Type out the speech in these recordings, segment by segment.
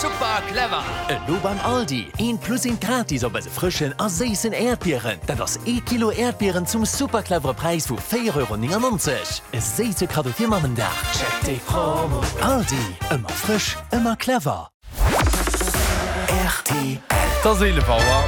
Super clever! Elo beim Aldi, eent plus eent gratis op eise frëschen a séissen Äerdbieren. Dat ass ee Kilo Äerdbieren zum super clevere Präis vu 4,99 Euro. E séisse Kaddo fir Mammendag. Check déi Promo! Aldi, ëmmer frësch, ëmmer clever. Rtl. Et ass 11 Auer.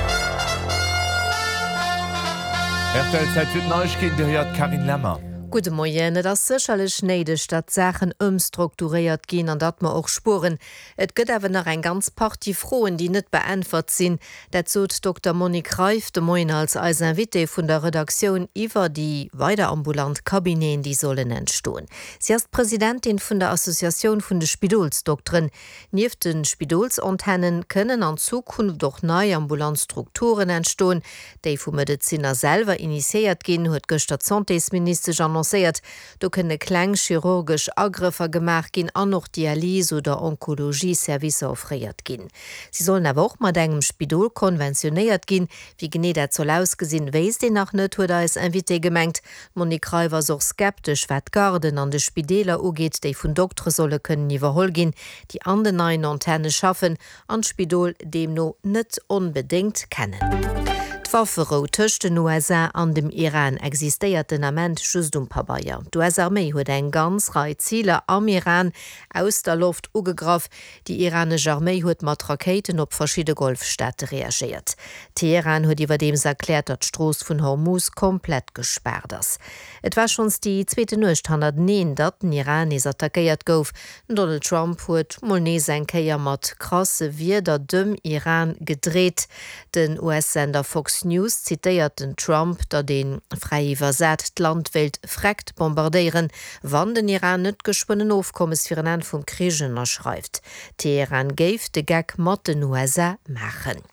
Rtl, Zäit fir d'Neiegkeeten, Dir héiert d'Carine Lemmer. Gudde Moien. Et ass sécherlech néideg, datt d'Saachen ëmstrukturéiert ginn an datt mer och spueren. Et gëtt awer nach eng ganz Partie Froen, déi net beäntwert sinn. Dat sot d'Dokter Monique Reiff de Moien als eis Invitée vun der Redaktioun iwwer déi weider ambulant Cabineten, déi sollen entstoen. Si ass d'Presidentin vun der Associatioun vun de Spidolsdokteren. Nieft de Spidolsantennen kënnen an Zukunft och nei ambulant Strukturen entstoen, déi vu Medezinner selwer initiéiert ginn, huet gëschter d'Santésministesch annoncéiert. Do kënne kleng chirurgesch Agrëffer gemaach ginn an och Dialys oder Onkologie-Servicer offréiert ginn. Si sollen awer och mat engem Spidol konventionéiert ginn. Wéi genee dat soll ausgesinn, wéisst een nach net, huet eis Invitée gemengt. D'Monique Reiff ass och skeptesch, wat d'Garden an de Spideeler ugeet, déi vun Doktere solle kënnen iwwerholl ginn, déi an den neien Antenne schaffen an d'Spidol deemno net onbedéngt kennen. D'Wafferou tëscht den USA an dem Iran existéiert den Ament just um Pabeier. D'US-Arméi huet eng ganz Rei Ziler am Iran aus der Loft ugegraff. Déi iranesch Arméi huet mat Rakéiten op verschidde Golfstaate reagéiert. Teheran huet iwwerdeems erkläert, datt d'Strooss vun Hormuz komplett gespaart ass. Et war schonns déi zweete Nuecht hannerteneen, datt den Iran nees attackéiert gouf. Den Donald Trump huet mol nees eng Kéier mat krasse Wierder dem Iran gedreet. Den US-Sender Fox News zitéiert den Trump, datt ee, fräi iwwersat, d'Land wéilt freckt bombardéieren, Wann den Iran net geschwënn en Ofkommes fir en Enn vum Krich ënnerschreift. Teheran géif de Geck mat den USA maachen.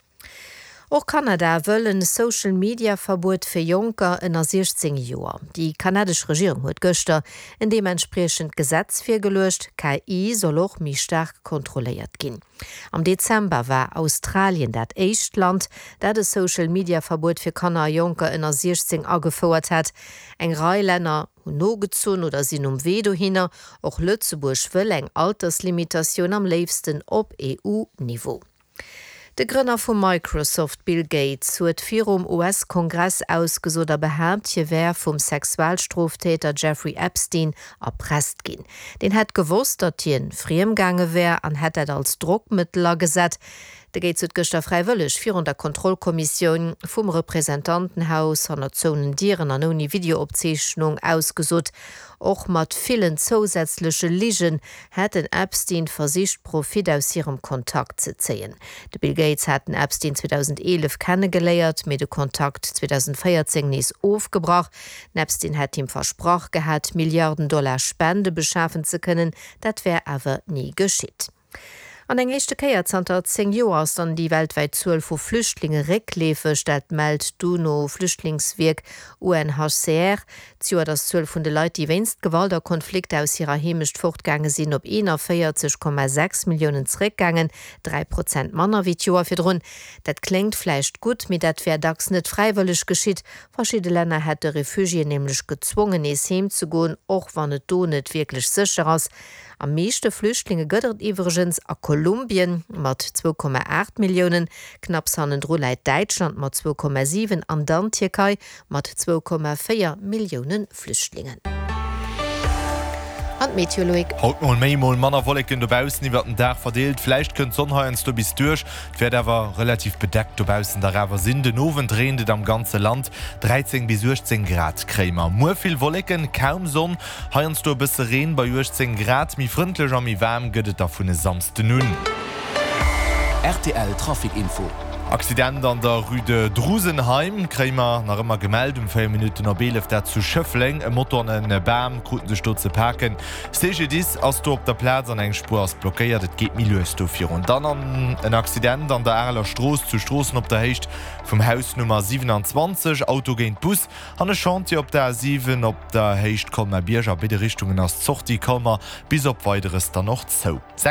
Och Kanada wëll en Social Media Verbuet fir Jonker ënner 16 Joer. Déi kanadesch Regierung huet gëschter en deementspriechend Gesetz virgeluecht. KI soll och méi staark kontrolléiert ginn. Am Dezember war Australien dat éischt Land, dat e Social Media Verbuet fir Kanner a Jonker ënner 16 agefouert hat. Eng Rei Länner hunn nogezunn oder sinn um Wee dohinner. Och Lëtzebuerg wëll eng Alterslimitatioun, am léifsten op EU-Niveau. De Grënner vu Microsoft, Bill Gates, huet virum US-Kongress ausgesot a behaapt, hie wär vum Sexualstroftäter Jeffrey Epstein erpresst ginn. Deen hätt gewosst, datt hien friemgaange wär an hätt dat als Drockmëttel agesat. De Gates huet gëschter fräiwëlleg virun der Kontrollkommissioun vum Representantenhaus hanner zouenen Dieren an ouni Videoopzeechnung ausgesot. Och mat villen zousätzleche Ligen hätt den Epstein versicht Profit aus hirem Kontakt ze zéien. De Bill Gates hat den Epstein 2011 kennegeléiert, mee de Kontakt 2014 nees ofgebrach. Den Epstein hätt him versprach gehat, Milliarden Dollar Spende beschafen ze kënnen, dat wär awer ni geschitt. An eng éischte Kéier zanter 10 Joer ass dann déi weltwäit Zuel vu Flüchtlinge réckleefeg. Dat mellt d'UNO-Flüchtlingswierk UNHCR. D'Joert ass d'Zuel vun de Leit, déi wéinst Gewalt a Konflikter aus hirer Heemecht fortgaange sinn, op 41,6 Milliounen zeréckgaangen, 3 Prozent manner wéi d'Joer virdrun. Dat kléngt vläicht gutt, mee dat wär dacks net fräiwëlleg geschitt. Verschidde Länner hätte Refugiéen nämlech gezwongen, nees heem ze goen, och wann et do net wierklech sécher ass. Am meeschte Flüchtlinge gëtt et iwwregens a Kolumbien mat 2,8 Milliounen, knapps hannendru läit Däitschland mat 2,7 an dann d'Tierkei mat 2,4 Millioune Flüchtlingen. An d'Meteo, Loïc? Haut mol méi, mol manner Wolleken dobaussen iwwert den Dag verdeelt. Vläicht kënnt d'Sonn heiansdo bis duerch, et wäert awer relativ bedeckt dobaussen dach awer sinn. Den Owend reent et am ganze Land, 13 bis 18 Grad kréie mer. Muer vill Wolleken, kaum Sonn, Heiansdo e bësse Reen bei 18 Grad. Méi frëndlech a méi waarm gëtt et da vun e Samsden un. Rtl Trafic Info. Accident an der Rue de Drusenheim kréie mer nach ëmmer gemellt um 4 Minutten op 11, dat zu Schëffleng. E Moto an e Bam kruten sech do ze paken. CGDIS ass do op der Plaz an eng Spuer ass blockéiert. Et geet méi lues do virun. Dann an en Accident an der Areler Strooss zu Stroossen op der Héicht vum Haus Nummer 27, Auto géint Bus. An e Chantier op der A7 op der Héicht Colmar-Bierg. A béide Richtungen ass d'Sortie Colmar bis op Weideres dann och zou.